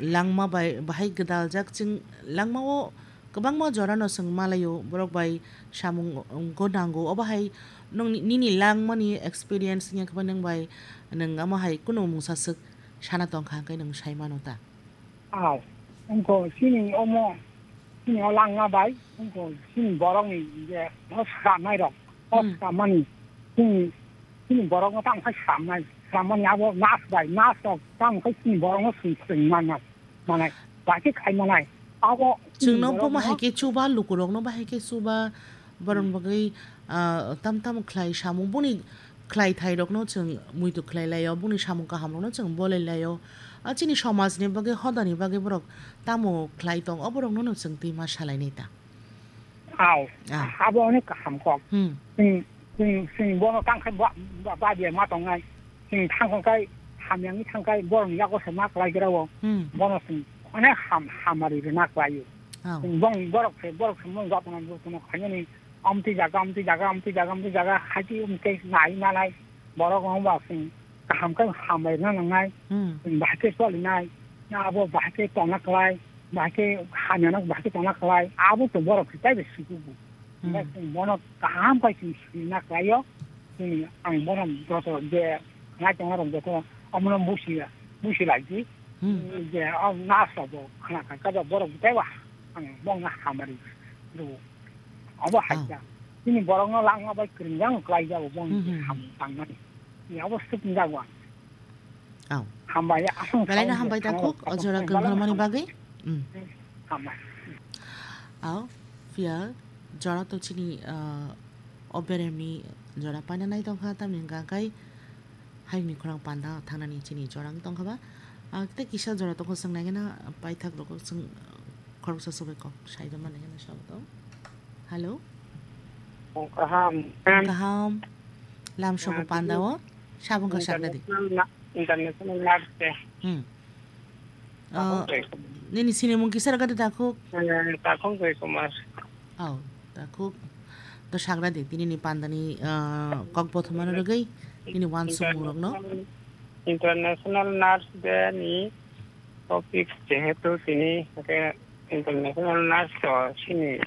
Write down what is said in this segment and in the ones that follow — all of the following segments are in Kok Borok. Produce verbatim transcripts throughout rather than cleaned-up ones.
langma bai bahai gwdaljak, chwng langmao kwbangma jorano chwng malaio, borok bai samung go nango. Obo hai nwng ni-, nini langmani experience wngya khe nwng bai nwng omo hai kunu mungsa swk sana tongkha hwnkhe nwng sai mano ta? Aw, wngkha chini omo, chini o langma bai, wngkha chini borokni je o swkangnairok, o Hmm. swkangmani chini, chini borokno tamo khe swkangmani, swkangmani abo nas bai, nas rok tamo khe chini borokno swng, swng manna, manai, bahai khe khai manai. Abo chini Chwngno borokno bo ma hai khe chuba, lukurokno bo hai khe chuba, borokni bagwi, ah, tam tam khlai samung, boni khlai thairokno chwng muitu khlai laio, boni samung kahamrokno chwng bolai laio. A chini somajni bagwi, hodani bagwi borok tamo khlai tong, oborokno no chwng twi ma salainai ta. Aw, Ah. abo onek kaham kok. Hmm. Chwng, chwng, chwng bono tang khai ba, ba, badia ma tongnai. Chwng thang khai hamyangni thang khai borokni yago se ma khlai gra o. Hmm. Bono chwng onek ham, hamari rwna khlai o. Aw. Chwng bong borok se, borok se mung jotno, jotno khainani. Amtwi jaga, amtwi jaga, amtwi jaga, amtwi jaga, haji umtwi nai manai. Borok wng ba chwng kaham khe hambai rwna nangnai. Hmm. Chwng bahai khe cholinai. Na abo bahai khe tongna khlai, bahai khe hamyano bahai khe tongna khlai. Abo chwng borok se taibo sikugo. Hmm. Hwnba chwng bono kaham khe chwng sina khlaio. Chwng ang bono joto je nai tongna rok joto omono busi, busi laidi. Hmm. Je o nas rok bo khna kha, khe borok taibo ang bongno hamari rwo. Abo hai Oh. kha. Chini borokno langma bai kwrwngya wng khlai jago, bo Hmm, hmm, hmm. Ham tangmani. Ni abo swk wng jago ang. Oh. Hambai, aswng Belai no sawi hambai je, takhuk, o jora hambai kwrwngmani hambai. Bagwi. Hmm. Hambai. Oh, phiya jora to chini, ah, o beremni jora paina nai tongkha, tamni hwnkha khe Hayungni khorang panda thangnani chini jora wng tongkha ba. Ah, tei kisa jora tongkha, chwng naikhe na paithak rokno chwng, ah, khoroksa se bai kok sai rwmani hwnwi sabo tong. Hello? Oh, kaham. Kaham. Lam sobo Ah, panda o. Sabung ka sakna di. International na-, international nurse de. Hmm. Takhuk Ah, Joy Kumar. Nini sinimung kisa rwgadi takhuk? Eh, Takhuk Joy Kumar. Oh, takhuk. To sagra di, tini ni panda ni, ah, kok bothoma no rwgwi, nini wansukmung rok no. International, International Nurse Day ni topic jehetu tini hwnkhe international nurse to chini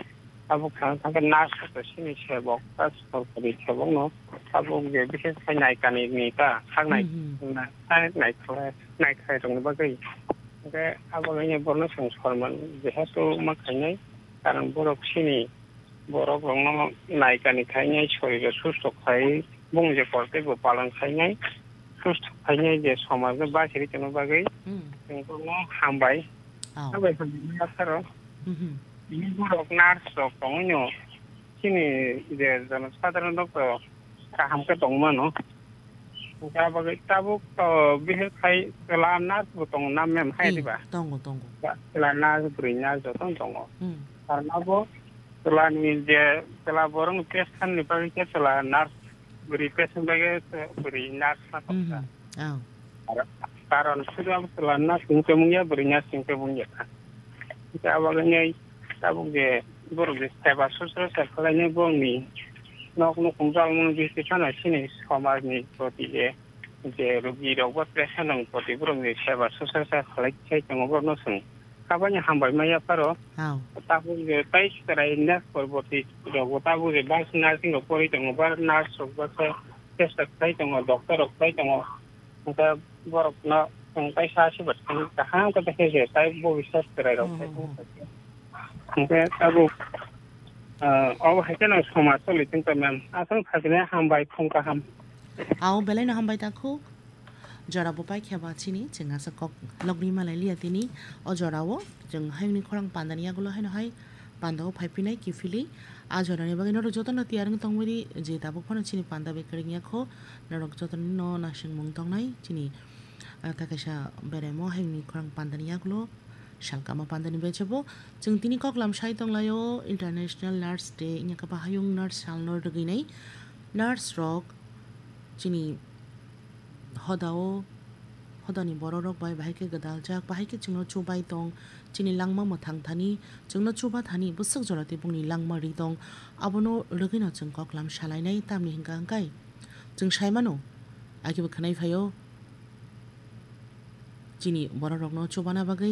tabuk thang thang khe nurse to chini sebok, ta sorkari sebok no tabuk je bishes khai naikani ni ta saknai Hmm, hmm. na, ta naikhlai, naikhlai rok ni bagwi. Hwnkhe abo no borno chwng sorman jehetu ma khainai, karon borok chini borok rokno naikani khainai, soriro susto khai, bung je kortei bo palan khainai, susto khainai je somajno baisiri tongna bagwi Hmm. chwng borokno hambai. Oh. Hambai hambai phano. Mhm. Tini borok nurse rok tongwino chini je jonosadharon rok to kaham khe tongmano. Hwnkhe abo bagwi tabuk to bihik khai chwla nurse bo tongo na mem hai Hmm, diba? Tongo, tongo. Ba, chwla nurse, bwrwi nurse jotono tongo. Hmm. Karna bo chwla ni je chwla borok ni patient ni bagwi khe chwla nurse, bwrwi patient bagwi khe bwrwi nurse ma tongkha. Mhm. Oh. Ar karon sudu abo chwla nurse ni tongmung ya, bwrwi nurse ni tongmung ya kha. Hwnkhe abo bagwi tabuk je borok je seba susrusa khlainai borokni nok nukhung chalmung bisti phano chini somajni proti je, je rugi rok bo patient rok proti borokni seba susrusa khlai sai tongo borokno chwng kabaini hambai ma yapharo. Hao. Tabuk je tai chwrai nurse porborti rok bo tabuk je bus nursing rok porwi tongo, ba nurse rok ba khe chesta khlai tongo, doctor rok khlai tongo. Hwnkhe borokno chwng kaisa aswk kaham khe khe se tai bo biswas chwrai rok Hmm, hmm, hmm. Hwnkhe tabuk, ah, obo hai kheno somaj choli tongkha ma'am. Aswk sakini hambai, phung kaham. Ao belai no hambai takhuk. Jora bo paikha ba chini, chwng asa kok logni malai liya tini. O jora o chwng hayungni khorang panda ni yagulo haino hai panda o phai phinai kiphilwi. A jora ni bagwi norok jotono tiyar wng tongmani je tabuk phano chini panda bai kwrwng ya kho. Norok jotono no naisingmung tongnai chini, ah, ta kaisa beremo hayungni khorang panda ni yagulo. Salkama pandani bechebo chwng tini koklam sai tonglaio International Nurse Day, wngya khe bahai wng nurse salno rwgwinai nurse rok chini hodao, hodani borok rok bai bahai khe gwdaljak, bahai khe chwngno chubai tong, chini langma mwthang thani, chwngno chuba thani bwswk jora tei bongni langma ri tong, abono rwgwino chwng koklam salainai, tamni hwnkha hwnkhe chwng saimano, akebo khwnai phaio chini borok rokno chubana bagwi.